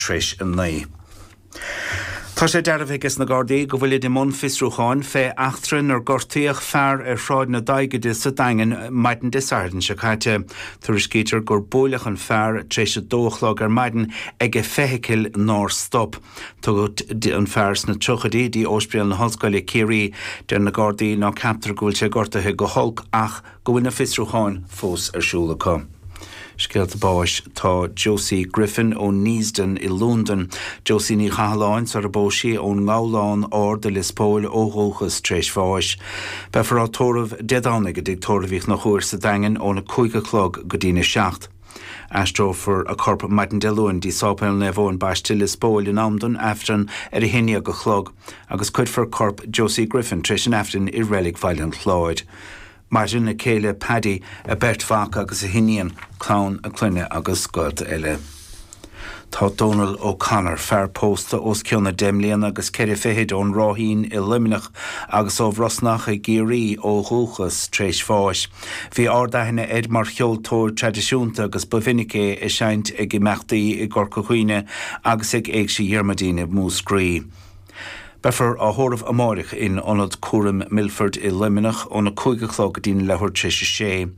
Tar éis 9. Tá sé dearbhaithe aige sna Gardaí go bhfuilid i mbun fiosrúcháin fé eachtra inar gortaíodh fear ar Shráid na Daighide sa Daingean maidin Dé Sathairn seo caite. Tuairiscítear gur buaileadh an fear tar éis a dó a chlog ar maidin ag feithicil nár stop. Tugadh an fear sna tríochaidí dtí Óispidéal na hOllscoile, Ciarraí. Deir na Gardaí ná ceaptar go bhfuil sé gortaithe go holc ach go bhfuil na fiosrúcháin fós ar siúl acu. Scéalta báis Tá Josie Griffin ó Neasden i Londain, Josie Ní Chathalláin sar a bpós sí ón nGabhlán Ard i Lios Póil ó dhúchas, tar éis bháis. Beifear á tórramh Dé Domhnaigh i dTigh Tórraimh Uí Chonchúir sa Daingean óna 5 a chlog go dtína 7. Aistreofar a corp maidin Dé Luain dtí Sáipéal Naomh Eoin Baiste, Lios Póil in am don Aifreann ar 11 a chlog agus cuirfear corp Josie Griffin tar éis an Aifrinn i Reilig Bhaile an Chláir. Maireann a céile Paddy, a beirt mhac agus a hiníon, clann a clainne agus gaolta eile. Tá Dónal O'Connor, fear pósta os cionn 10 mbliana agus ceithre fichid ón Ráithín i Luimneach agus ó Bhrosnach i gCiarraí ó dhúchas, tar éis bháis. Bhí ard-aithne air mar cheoltóir traidisiúnta agus ba mhinic é ag seinnt ag imeachtaí i gCorca Dhuibhne agus ag Éigse Dhiarmuidín i Múscraí. Beifear á thórramh amáireach in Ionad Cúraim Milford i Luimneach óna 5 a chlog go dtína leathuair tar éis a sé.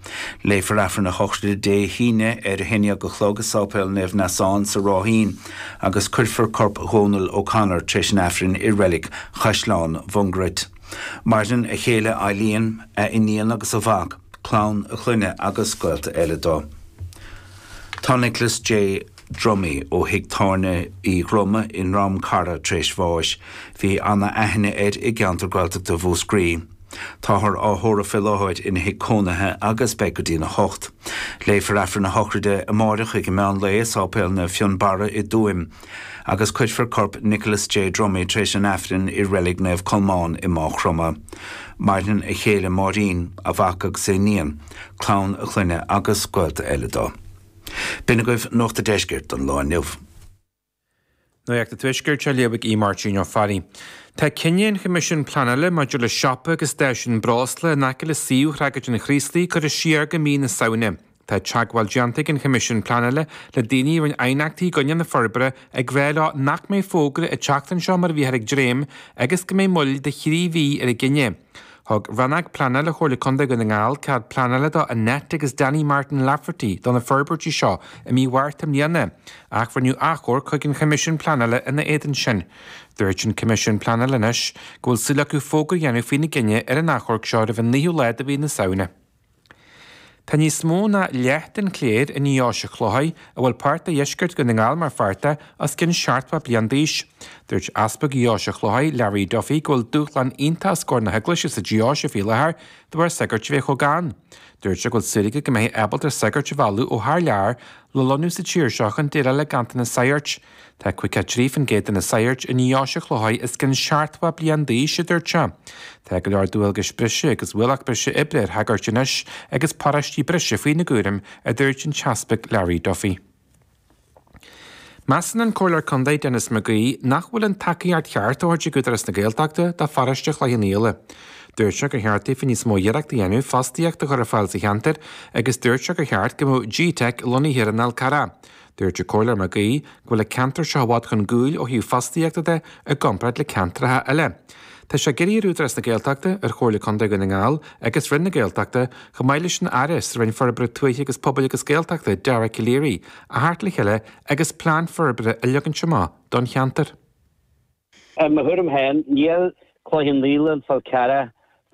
Léifear Aifreann a shochraide Dé hAoine ar a 11 a chlog i Sáipéal Naomh Neasán sa Ráithín agus cuirfear corp Dhónaill O'Connor tar éis an Aifrinn i Reilig Chaisleán Mhungairit. Maireann a chéile Eileen, a iníon agus a mhac, clann a clainne agus gaolta eile dó. Tá Nicholas J. Dromey ó thigh tábhairne Uí Dhroma i nDrom Cara tar éis bháis. Bhí ana-aithne air i gceantar Gaeltachta Mhúscraí. Táthar á thórramh fé láthair ina thigh cónaithe agus beidh go dtína hocht. Léifear Aifreann a shochraide amáireach ag an meán lae i Sáipéal Naomh Fionnbarra i dTuaim agus cuirfear corp Nicholas J. Dromey tar éis an Aifrinn i Reilig Naomh Colmán i Máigh Chromtha. Maireann a chéile Máirín, a mhac agus a iníon, clann a clainne agus gaolta eile dó. B'in agaibh Nuacht a' Deiscirt don lá inniu. Nuacht an Tuaiscirt á léamh ag Aodh Máirtín Ó Fearraigh. Tá cinneadh an Choimisiúin Pleanála maidir le siopa agus stáisiún breosla in aice le suíomh Thragóid an Chraoslaigh curtha siar go mí na Samhna. Tá teagmháil déanta ag an Choimisiún Pleanála le daoine a rinne aighneachtaí i gcoinne na forbartha ag rá leo nach mbeidh fógra ag teacht anseo mar a bhíothar ag dréim agus go mbeidh moill de thrí mhí ar an gcinneadh. Thug Rannóg Pleanála Chomhairle Contae Dhún na nGall cead pleanála do Annette agus Danny Martin Lafferty do na forbairtí seo i mí Mhárta i mbliana, ach rinneadh achomharc chuig an Choimisiún Pleanála ina éadan sin. Dúirt an Coimisiún Pleanála anois go bhfuil súil acu fógra a dhéanamh faoina gcinneadh ar an achomharc seo roimh an naoú lá de mhí na Samhna. Tá níos mó ná leath den chléir i nDeoise Chlóirthigh, a bhfuil páirt de dheisceart Dhún na nGall mar pháirt de, os cionn 70 bliain d'aois. Dúirt Easpag Dheoise Chlóirthigh, Larry Duffy, go bhfuil dúshlán iontach os comhair na hEaglaise sa deoise faoi láthair de bharr sagairt a bheith chomh gann. Dúirt sé go bhfuil súil aige go mbeifí ábalta sagairt a mhealladh ó thar lear le lonnú sa tír seo chun déileáil le ganntanas saghairt. Tá 53% de na saghairt i nDeoise Chlóirthigh os cionn 70 bliain d'aois, a dúirt sé. Tá go leor dualgais breise agus ualach breise oibre ar shagairt anois agus paróistí breise faoina gcúram, a dúirt an tEaspag Larry Duffy. Measann an Comhairleoir Contae Denis McGee nach bhfuil an tacaíocht cheart á thabhairt ag Údarás na Gaeltachta do pharóiste Chloich Cheann Fhaola. Dúirt sé gur cheart daofa níos mó iarracht a dhéanamh fostaíocht a chur ar fáil sa cheantar agus dúirt sé gur cheart go mbeadh G-Teic lonnaithe ar an Fhál Carrach. Dúirt an Comhairleoir McGee go bhfuil an ceantar seo i bhfad chun gcúil ó thaobh fostaíochta de i gcomparáid le ceantracha eile. Tá sé ag iarraidh ar Údarás na Gaeltachta, ar Chomhairle Contae Dhún na nGall agus Roinn na Gaeltachta, chomh maith leis an Aire sa Roinn Forbartha Tuaithe agus Pobail agus Gaeltachta, Dara Calleary, a theacht le chéile agus plean forbartha a leagaint amach don cheantar. I mo thuairim féin, níl Cloich Cheann Fhaola, an Fál Carrach,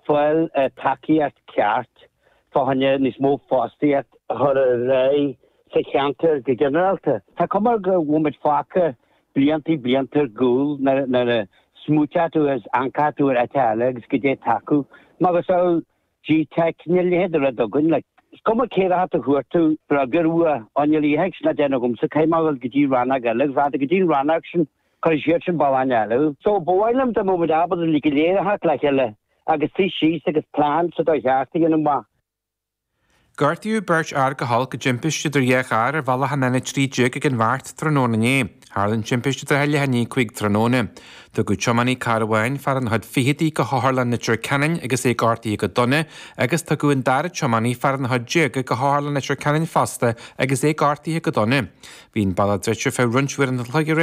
fáil tacaíocht ceart fá choinne níos mó fostaíocht a chur ar aghaidh sa cheantar go ginearálta. Tá cuma air go bhfuil muid fágtha blianta blianta ar gcúl nuair a smaoiteodh tú is amharcfadh tú ar áit eile agus goidé atá acu. Macasamhail G-Teic, níl a leithéid de rud againn. Like, is cuma cé raibh tú chuartú briogar uaidh, á níl a fhios ná déanamh agamsa, caithfidh mé a dhul go dtí rannóg eile agus rachadh tú go dtí an rannóg sin, cuirfidh siad sin bealach eile thú. So, ba mhaith liom dá mbeadh muid ábalta uilig go léir a theacht le chéile agus suí síos agus plean sa dóigh cheart a dhéanamh amach. Gortaíodh beirt fhear go holc i dtimpiste idir dhá charr ar bhealach an N13 ag an Bheart tráthnóna inné. Tharla an timpiste i dtrátha leath i ndiaidh 5 tráthnóna. Tugadh tiománaí cairr amháin, fear ina chuid fichidí, go hOtharlann Leitir Ceanainn agus é gortaithe go dona agus tugadh an dara tiománaí, fear ina chuid déaga, go hOtharlann Leitir Ceanainn fosta agus é gortaithe go dona. Bhí an bealach druidte ar feadh roinnt uaireanta an chloig aréir.